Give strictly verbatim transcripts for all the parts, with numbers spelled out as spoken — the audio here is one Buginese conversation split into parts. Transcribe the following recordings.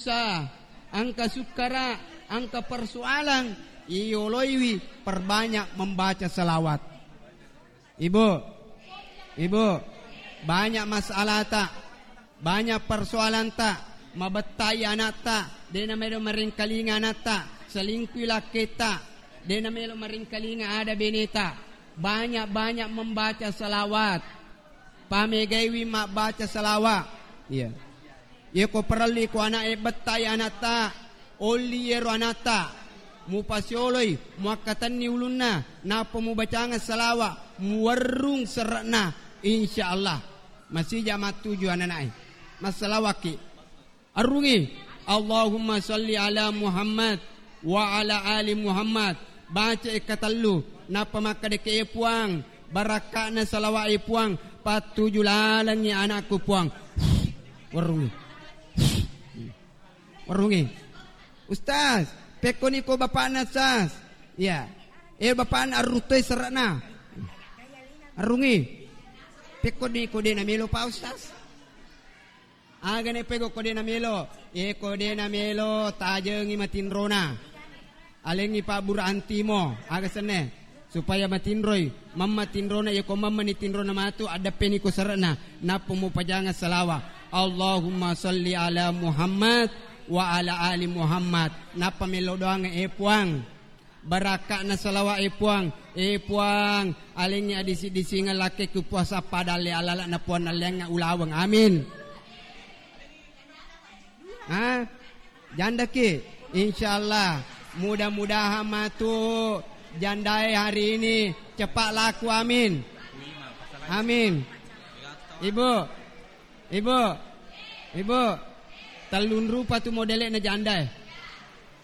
Sa, engka sukkara, engka persoalan, iyoloiwi perbanyak membaca salawat. Ibu, ibu, banyak masalahta, banyak persoalanta, mabettai anatta, dena melo maringkalinga anatta, selingkui lakketta, dena melo maringkalinga ada beneta. Banyak-banyak membaca salawat. Pamegaiwi mabbaca salawa. Iya. Iyako parelli ko ana'e bettai anatta, olli iyaro anatta, mupasioloi, muakkatenni ulunna, nappa mubacangeng salawa, muwerrung serre'na, insya Allah. Masija mattuju anana'e. Massalawakki. Arrungi, Allahumma salli ala Muhammad wa ala ali Muhammad. Baca e katellu, nappa makkadeke, "E Puang, barakka'na salawa e Puang, pattuju lalengngi anakku Puang." Warrungi. Warrungi. "Ustaz, pekkoni ko bapakna, Ustaz?" Iya. "E, bapakna arruttoi serre'na." Arrungi. "Pekkoni ko de namelo, Pak Ustaz?" Aga ne pego ko de namelo? E, ko de namelo, tajengi matinrona. Alengi pabbura antimo, aga senne? Supaya matinroi, mamma tinrona, iya ko mamma ni tinrona matu, addeppeni ko serre'na, nappa mupajangeng salawa. Allahumma salli ala Muhammad wa ala ali Muhammad. Nappa melo doangeng, e Puang. Barakka'na salawa, e Puang. E Puang, alengngi adisi-disingeng lakkekku puasa padalle alala'na Puang nalleangnga ulaweng. Amin. Ha? Jandaki? Insyaallah. Mudah-mudahan matu jandae hari ini cepat laku. Amin. Amin. Ibu, Ibu, Ibu, tellung rupa tu modele'na jandae.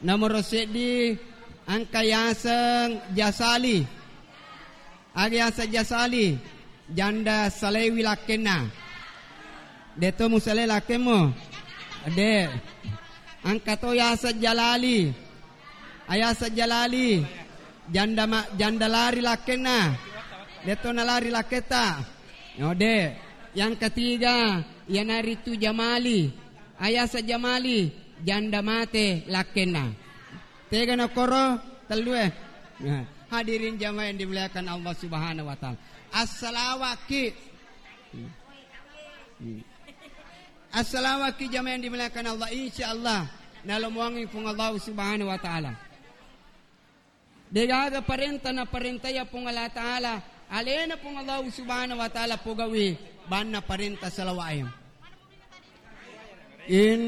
Nomoro seddi, engka yaseng Jasali. Aga yaseng Jasali? Janda salewi lakkenna. De to musalai lakkemmu? De. Engka to yaseng Jalali. Ayaseng Jalali, janda ma-, janda lari lakkenna. De to nalari lakketta. Ode. Yang ketiga, iyanaritu Jamali. Ayaseng Jamali, janda mate lakkenna. Tega nokoro? Tellue. Nah, hadirin jamaah yang dimuliakan Allah Subhanahu wa Ta'ala. Assalawakki. Hmm. Hmm. Assalawakki jamaah yang dimuliakan Allah. Insya Allah nalomoangi Puang Allah Subhanahu wa Ta'ala. Degaga parenta naparentaya Puang Allah Ta'ala, alena Puang Allah Subhanahu wa Ta'ala pogawi banna parenta salawae. In